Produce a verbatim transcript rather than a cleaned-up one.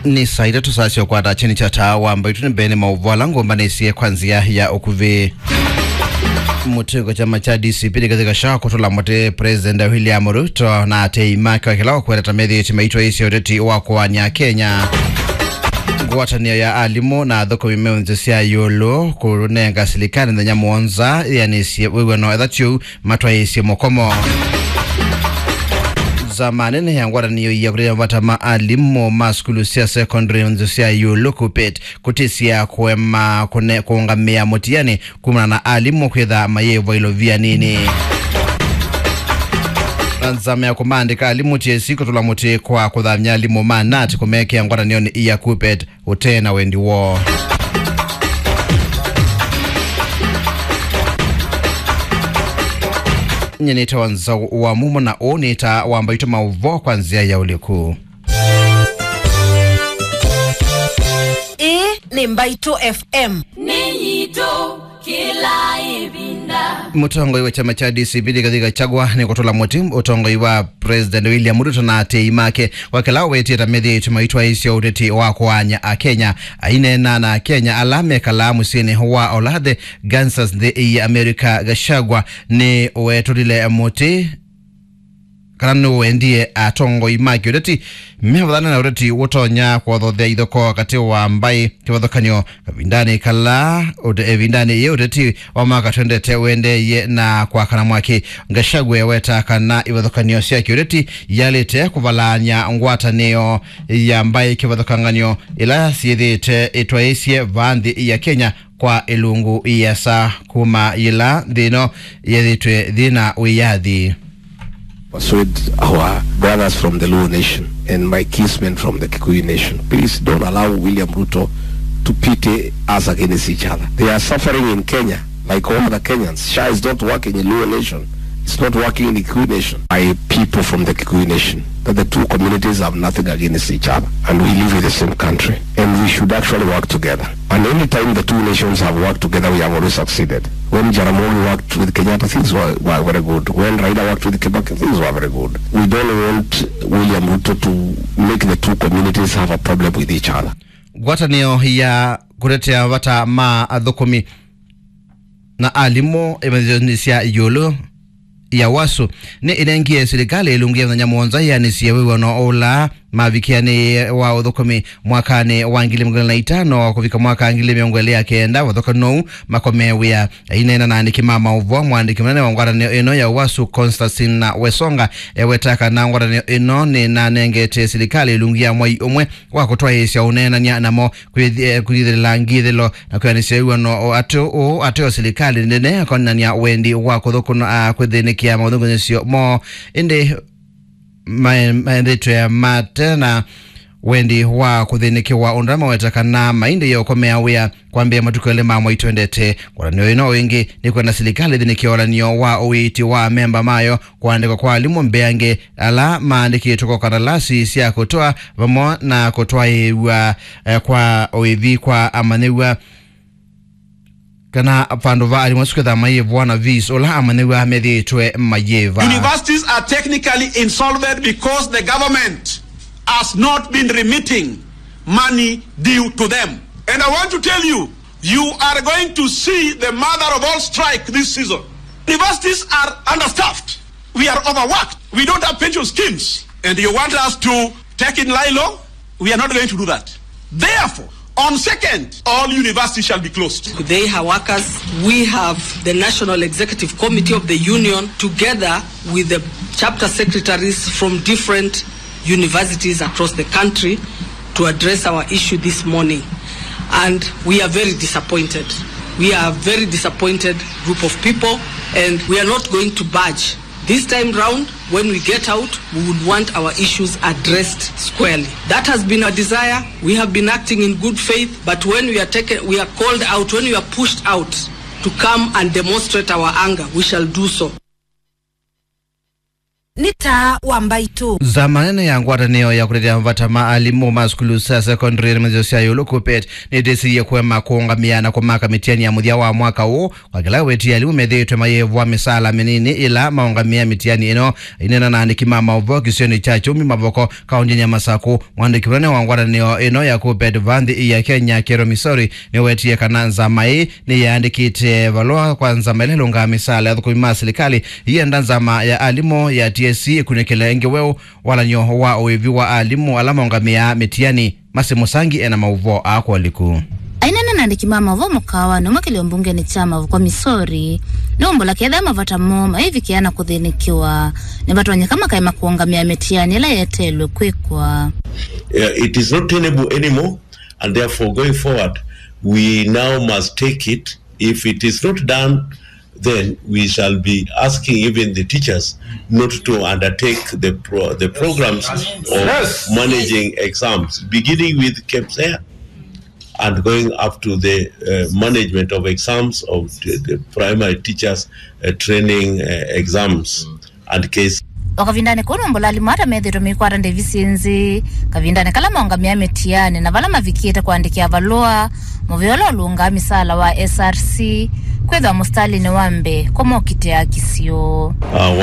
Nĩ saa itatũ saa sya ũkwata kyeni kya taa wa mbaitũ nĩ mbee nĩ maũvoo ala ngũmbanĩsye kwa nzĩa ya ũkuvĩ. Mũtĩ kwa kyama kya D C P nĩ kathika sha kũtũla mũtĩ President William Ruto na atei make wa kĩla ũkwenda ta methĩĩtye maitwaĩĩsya ũteti wa kũaany'a Kenya. Ngwatanĩo ya alimũ na athũkũmi me nzĩ sya ĩũlũ kũnenga silikalĩ mĩthenya mũonza yĩanĩsye wĩw'ano ethatiũ matwaĩĩsye mũkomo. Nzama nene ya ngwatanĩo ya kũtetea mavata ma alimũ ma sukulu sya secondary nzĩ sya ĩũlũ KUPPET kũtĩsya kũema kũne-, kũũngamĩa mũtiani kumana na alimũ kwĩtha mayĩvwa ilovia nini. Na nzama ya kũmaandĩka alimũ T S C kũtũla mũtĩ kwa kũthamya alimũ ma nat kũmekĩa ngwatanĩonĩ ya KUPPET ũte na wendi woo. Nyie nĩtawa Nzau wa Mumo na ũũ nĩ taa wa mbaitũ maũvoo kwa nzĩa ya ũliku. Ĩĩ nĩ Mbaitũ F M. Nĩ yitũ. Kĩla ĩvinda. Mũtongoi wa kyama kya D C P Rigathi Gachagua nĩ kũtũla mũtĩ ũtongoi wa President William Ruto na atei make kwa kĩla ũwetie ta methĩĩtwe maitwaĩĩsya ũteti wa kũaany'a Akenya. Aineena na Akenya ala mekalaa mũsyĩnĩ wa Olathe, Kansas, nthĩ ya America, Gachagua nĩ ũwetũlile mũtĩ kana nĩwendie atongoi ma kĩũteti mevathane na ũteti ũtonya kũthothea ithokoo katĩ wa mbaĩ kĩvathũkany'o kavindanĩ kala ũte-, ĩvindanĩ yĩ ũteti wa mwaka twendete ũendeeie na kwakana mwaki. Gachagua eweta kana ivathũkany'o sya kĩũteti yalĩte kũvalaany'a ngwatanĩo ya mbaĩ kĩvathũkangany'o ila syĩthĩĩte ĩtwaĩĩsye vaa nthĩ ya Kenya kwa ĩlungu ĩasa kuma yĩla nthĩ ĩno yethĩtwe thĩna wĩyathi. Persuade our brothers from the Luo nation and my kinsmen from the Kikuyu nation. Please don't allow William Ruto to pity us against each other. They are suffering in Kenya like all other Kenyans. SHA is not working in Luo nation. It's not working in the Kikuyu nation. My people from the Kikuyu nation, that the two communities have nothing against each other and we live in the same country and we should actually work together. And any time the two nations have worked together, we have always succeeded. When Jaramogi worked with Kenyatta, things were, were very good. When Raila worked with Kibaki, things were very good. We don't want William Ruto to make the two communities have a problem with each other. Ngwatanĩo ya kũtetea vata ma athũkũmi na alimũ ĩmanyĩthonĩ sya ĩũlũ ya wasu nĩ ĩnengie silikalĩ ĩlungu ya mĩthenya mũonza yĩanĩsye wĩw'ano ũla mavikĩanĩie wa ũthũkũmi mwakanĩ wa ngili mĩongo ĩlĩ na itano kũvika mwaka ngili mĩongo ĩlĩ ya kenda vathũkanu ũu makomee wĩa. Aineena na aandĩki ma maũvoo, mũandĩki mũnene wa ngwatanĩo ĩno ya wasu Constantine Wesonga eweta kana ngwatanĩo ĩno nĩnanengete silikalĩ ĩlungu ya mwai ũmwe wa kũtwaĩĩsya ũneenany'a namo kwĩthi-, eh, kwĩthĩla ngithĩlo na kwĩanĩsya wĩw'ano o ateo, ũũ ateo silikalĩ nene akonanĩa wendi wa kũthũkũna, ah, kwĩthĩnĩkĩa maũthũngũnyĩsyo moo. Ĩndĩ mae-, maendetwe mate na wendi wa kũthĩnĩkĩwa ũndũ ala maweta kana maindĩie ũkomea wĩa kwambĩĩa matukũ elĩ ma mwai twendete. Ngwatanĩo ĩno o ĩngĩ nĩkwenda silikalĩ ĩthĩnĩkĩe ũalanĩo wa ũiiti wa amemba mayo kũandĩkwa kwa alimũ mbeange ala maandĩkĩtwe kwa kandalasi sya kũtwaa vamwe na kũtwaĩĩw'a, eh, kwa ũĩthi kwa amanyĩw'a kana vandũ va alimũ asu kwĩthĩwa mayĩvwa na fees ũla amanyĩw'a methĩĩtwe mayĩva. Universities are technically insolvent because the government has not been remitting money due to them. And I want to tell you, you are going to see the mother of all strike this season. Universities are understaffed. We are overworked. We don't have pension schemes. And you want us to take in lie low? We are not going to do that. Therefore, on second, all universities shall be closed. They are workers. We have the National Executive Committee of the Union, together with the chapter secretaries from different universities across the country to address our issue this morning. And we are very disappointed. We are a very disappointed group of people, and we are not going to budge. This time round, when we get out, we would want our issues addressed squarely. That has been our desire. We have been acting in good faith, but when we are taken, we are called out, when we are pushed out to come and demonstrate our anger, we shall do so. Nĩ taa wa mbaitũ. Nzama nene ya ngwatanĩo ya kũtetea mavata ma alimũ ma sukulu sya secondary na mĩthyo sya ĩũlũ, KUPPET, nĩtĩsĩie kũema kũũngamĩa na kũmaka mĩtiani ya mũthya wa mwaka ũũ, kwa kĩla wĩtie alimũ methĩĩtwe mayĩvwa mĩsaala mĩnini ĩla maũngamĩa mĩtiani ĩno. Aineena na andĩki ma maũvoo kĩsionĩ kya Kyumi Mavoko, kaũndĩnĩ ya Masaku, mwandĩki mũnene wa ngwatanĩo ĩno ya KUPPET va nthĩ ya Kenya, Kero Misori, nĩwetie kana nzama ĩĩ nĩyaandĩkĩte valũa kwa nzama ĩla ĩlũngaa mĩsaala ya athũkũmi ma silikalĩ, yĩenda nzama ya alimũ ya T S C ĩkunĩkĩle ĩngĩ weũ walan'yo wa ũĩvi wa alimũ ala maũngamĩaa mĩtiani. Masi Mũsangi ena maũvoo aa kwa ũliku. Aineena na andĩki ma maũvoo mũkaawanĩ ũmwe kĩlĩo mbungenĩ kya Mavoko Misori, nĩwumbũla kethĩa mavata moo maivikĩa na kũthĩnĩkĩwa, nĩvatonyeka makaema kũũngamĩa mĩtiani ĩla yeteelwe kwĩkwa. Uh, it is not tenable anymore, and therefore going forward, we now must take it. If it is not done, then we shall be asking even the teachers not to undertake the pro- the programs of Yes. managing exams, beginning with KPSEA and going up to the uh, management of exams of the, the primary teachers uh, training uh, exams and case. O kavindanĩ kau, nũmbũla alimũ ata methĩĩtwe meikwata ndĩvi syĩ nzĩ kavindanĩ kala maũngamĩa mĩtianĩ na vala mavikĩte kũandĩkĩa valũa mũvea ũla ũlũngaa mĩsaala wa S R C kwĩthwa mũsitalĩnĩ wa mbee kũmokitĩa kĩsio. Uh,